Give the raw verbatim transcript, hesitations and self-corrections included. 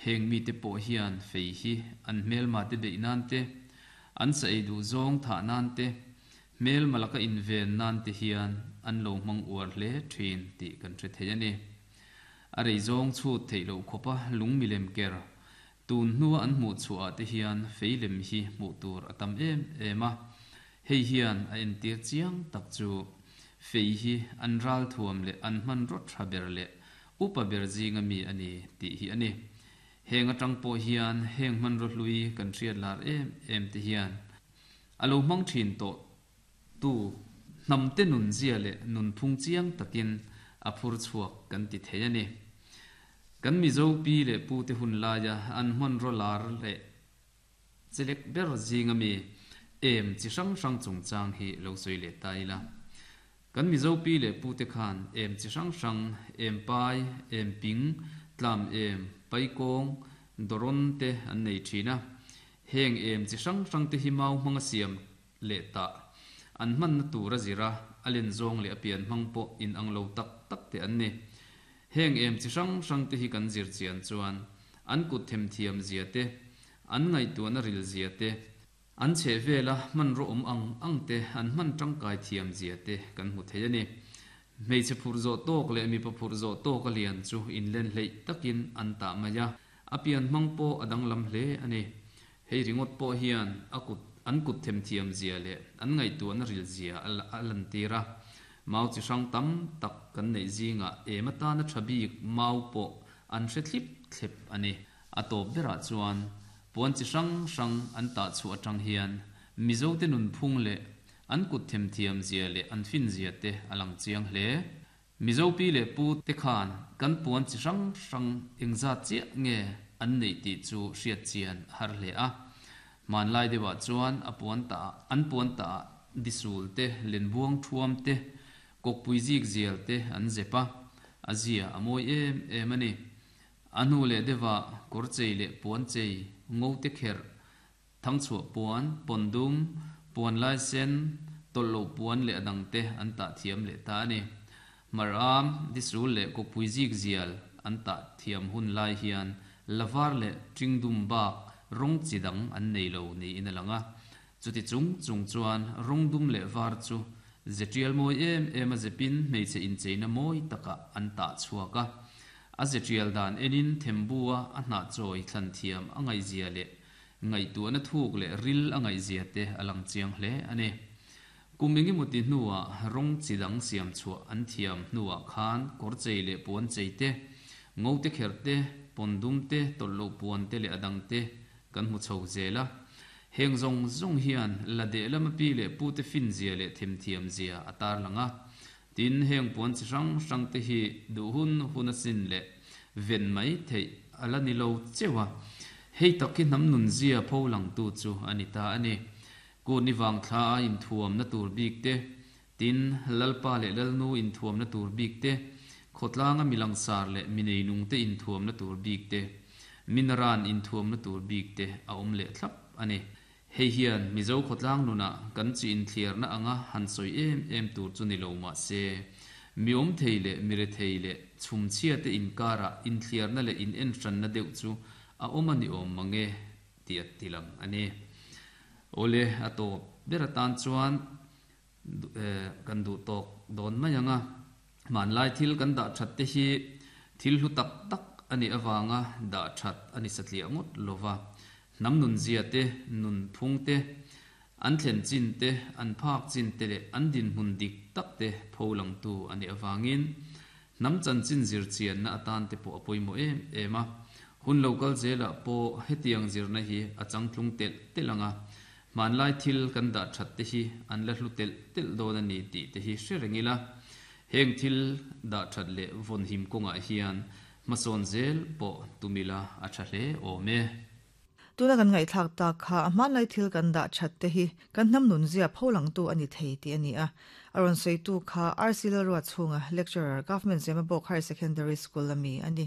Heng mite pawh hian fei hi an hmelma te beih nan te, an sa ei duh zawng thah nan te, hmelma laka inven nan te hian an lo hmang uar hle thin tih kan hre thei a ni. A rei zawng chhut theih loh khawpa lung milem ker tun hnua an hmuh chhuah ah te hian fei lem hi hmuh tur a tam em em a. Hei hian a entir chiang tak chu fei hi an ralthuam leh an hmanraw tha ber leh upa ber zinga mi a ni tih hi a ni. Heng atang pawh hian heng hmanraw hlui kan hriat lar em em te hian a lo hmang thin tawh tu hnam te nun zia leh nunphung chiang takin a phur chhuak kan ti thei a ni. Kan Mizo pi leh pu te hun laia an hmanraw lar leh chelek ber zinga mi em chi hrang hrang chungchang hi lo sawi leh ta ila. Kan Mizo pi leh pu te khan em chi hrang hrang, em pai, em ping, tlam em, paikawng, dawrawn te an nei thin a. Heng em chi hrang hrang te hi mau hmanga siam leh tah an hmanna tur a zir a, a len zawng leh a pian hmang pawh inang lo tak tak te an ni. Heng em chi hrang hrang te hi kan zir chian chuan an kut themthiam zia te, an ngaihtuahna ril zia te, an chhehvela hmanraw awm ang ang te an hman tangkai thiam zia te kan hmu thei a ni. Hmeichhe phurh zawh tawk leh mipa phurh zawh tawk a lian chu inlen hleih takin an tah mai a, a pian hmang pawh a danglam hle a ni. Hei ringawt pawh hian a kut an kut themthiam zia leh an ngaihtuahna ril zia a lantir a. Mau chi hrang tam tak kan neih zingah em atana tha bik mau pawh an hre thlip thlep a ni. A tawp berah chuan puan chi hrang hrang an tah chhuah atang hian Mizote nunphung leh an kut themthiam zia leh an fin zia te a lang chiang hle. Mizo pi leh pu te khan kan puan chi hrang hrang engzat chiah nge an neih tih chu hriat chian a har hle a. Hmanlai deuhah chuan a puan tah an puan tah disul te, lenbuang thuam te, kawkpui zik zial te an zep a, a zia a mawi em em a ni. A hnu leh deuhah kawr chei leh puan chei, ngo te kherh, thangchhuah puan, pawn dum, puan lai sen, tawlh loh puan leh a dang te an tah thiam leh ta a ni. Hmaram, disul leh kawkpui zik zial an tah thiam hun lai hian la var leh ṭing dum bak rawng chi dang an nei lo niin a lang a. Chuti chung chung chuan rawng dum leh var chu ze ṭial mawi em em a zepin hmeichhe incheina mawi takah an tah chhuak a. A ze ṭial dan enin thembua a hnah chawi thlan thiam a ngaihzia leh ngaihtuahna thuk leh ril a ngaihzia te a lang chiang hle a ni. Kum engemaw ti hnuah rawng chi dang siam chhuah an thiam hnuah khan kawr chei leh puan chei te, ngo te kherh te, pawn dum te, tawlh loh puan te leh a dang te kan hmu chho zel a. Heng zawng zawng hian la deh lama pi leh pu te fin zia leh themthiam zia a tarlang a. Tin, heng puan chi hrang hrang te hi duh hun hun a sin leh ven mai theih a la ni lo cheuh a. Hei tak hi hnam nun zia pho langtu chu a ni ta a ni. Kut ni vang thla a inthuamna tur bik te, tin, Lalpa leh Lalnu inthuamna tur bik te, khawtlanga mi langsar leh mi neinung te inthuamna tur bik te, minaran inthuamna tur bik te a awm leh thlap a ni. Hei hian Mizo khawtlang nunah kan chi inthliarna anga han sawi em em tur chu ni lo mah se, mi awm thei leh mi rethei leh chhumchhia te inkarah inthliarna leh inenhranna deuh chu a awm a ni awm mang e tih a ti lang a ni. Awle, a tawp ber atan chuan kan duh tawk dawn mai ang a, hmanlai thil kan dah that te hi thil hlu tak tak a nih avanga dah that a ni satliah ngawt lo va, hnam nunzia te, nunphung te, an thlen chin te, an phak chin te leh an dinhmun dik tak te pho langtu a nih avangin hnam chanchin zir chianna atan te pawh a pawimawh em em a. Hun lo kal zelah pawh hetiang zirna hi a changtlung telh telh ang a, hmanlai thil kan dah that te hi an la hlu telh telh dawn a ni tih te hi hre reng ila. Heng thil dah that leh vawnhim kawngah hian hmasawn zel pawh tum ila a tha hle awm e. Tuna kan ngaihthlak tak kha a hmanlai thil kan dah that te hi kan hnam nunzia pho langtu a ni thei tih a ni a. A rawn sawitu kha R C Lalruatchhunga, Lecturer, Government Zemabawk Higher Secondary School a mi a ni.